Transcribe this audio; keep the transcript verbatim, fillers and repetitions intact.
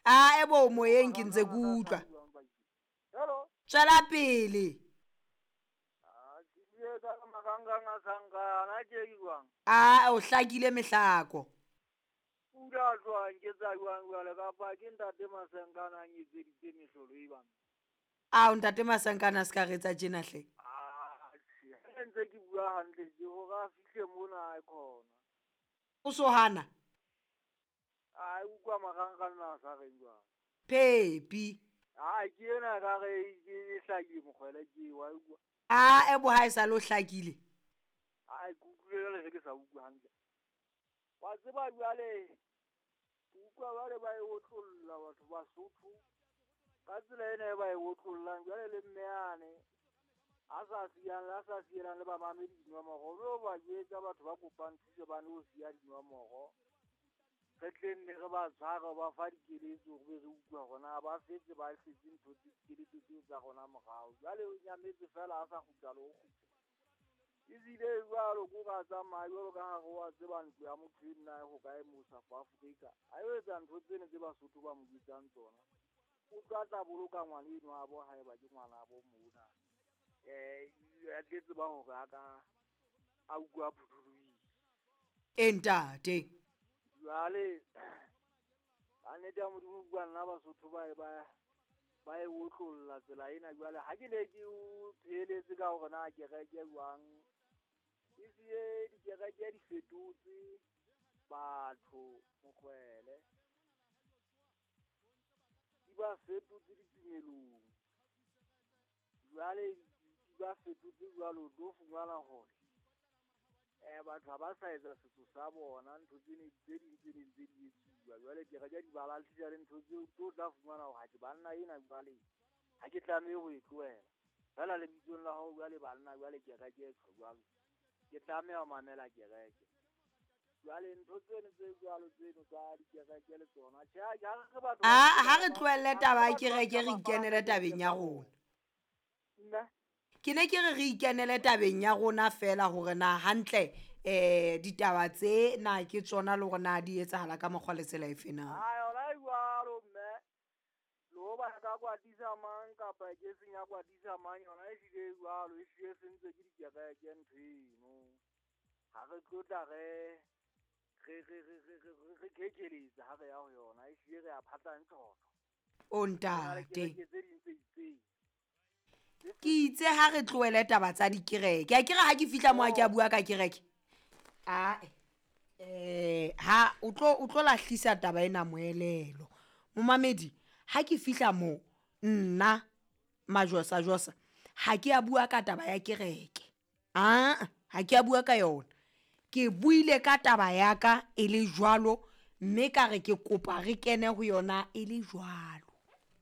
A e bo moyeng ke ntse ke utlwa. Hello. Tswela pele. A ke bue ka marangrang a sankana ke jwang? A o hlakile mehlako. Pula tloha nketsa jwang jwale kapa ke ntate Masenkana a nketseditse mehlolo e bang? Ao ntate Masenkana a se ka re etsa tjena hle. Ah, ha ntse ke bua hantle tje hore a fihle mona a khona. O so hana? A utlwa marangrang a sa reng jwang? Phepi. Ah, ke ena ka re ke hlakile mokgwele ke wa utlwa. A e bo ha e sa le o hlakile. A ke utlwile jwale ge ke sa utlwe hantle. Wa tseba jwale ke utlwa jwale ba e otlolla batho Basotho ka tsela ena e ba e otlollang jwale le mme yane a sa siyang a sa sielang le bamamedi dinomoro o ba jwetsa batho ba kopang thuso ba no siya dinomoro. Re tle nne re ba tshware ba fa dikeletso re be re utlwa hore na ba fetse ba hletse ntho tse dikeletso tseo tsa rona morao. Jwale o nyametse fela a sa kgutla le ho kgutla. Ebile jwalo ko ka tsamaya jwalo ka ha re wa tseba ntlo ya motho ena e hokae mo South Africa. A yo etsa ntho tseno tse Basotho ba mo jwetsang tsona. O tla tla boloka ngwana eno wa bo haeba ke ngwana bo mona. Eh a tle tseba hore a ka a utlwa phuthulohile. E ntate. Jwale ka nnete ya Modimo bua nna Basotho ba e ba ba e otlolla tsela ena jwale ha ke ne ke o pheletse ka hore na kereke jwang. Ebile dikereke di fetotse batho mokgwele. Di ba fetotse ditumelong. Jwale di ba fetotse jwalo o tlo fumana hore eh batho ha ba sa etsa setso sa bona ntho tsene tse ding tse ding tse di etsuwa. Jwale kereke di ba lahlisa le ntho tseo tlo tla fumana hore ha ke banna ena jwale ha ke tlamehe ho e tlohela. Fela lebitsong la hao jwale banna jwale kereke e tjho jwalo. Ke tlameha ho mamela kereke. Jwale ntho tseno tse jwalo tseno tsa dikereke le tsona. Tjhe, ha re batho A ha re tlohelle taba ya kereke re ikenele tabeng ya rona. Nna Ke ne ke re re ikenele tabeng ya rona fela hore na hantle eh ditaba tse na ke tsona le hore na di etsahala ka mokgwa le tsela efe na. A yona e jwalo mme. Le ho ba ka kwatisa mang kapa ke seng ya kwatisa mang yona e hlile e jwalo e hlile e sentswe ke dikereke ntho eno. Ha re tlotla re re re re re re re kekeletsa ha re ya ho yona e hlile re a phatlantjhotjho. O Ho na le ntate. kereke tse ding tse itseng. Ke itse ha re tlohele taba tsa dikereke. A ke re ha ke fihla mo ha ke a bua ka kereke. Ae. Eh ha o tlo o tlo lahlisa taba ena moelelo. Momamedi ha ke fihla mo nna Majosa Josa ha ke a bua ka taba ya kereke. Ah, ha ke a bua ka yona. Ke buile ka taba ya ka e le jwalo mme ka re ke kopa re kene ho yona e le jwalo.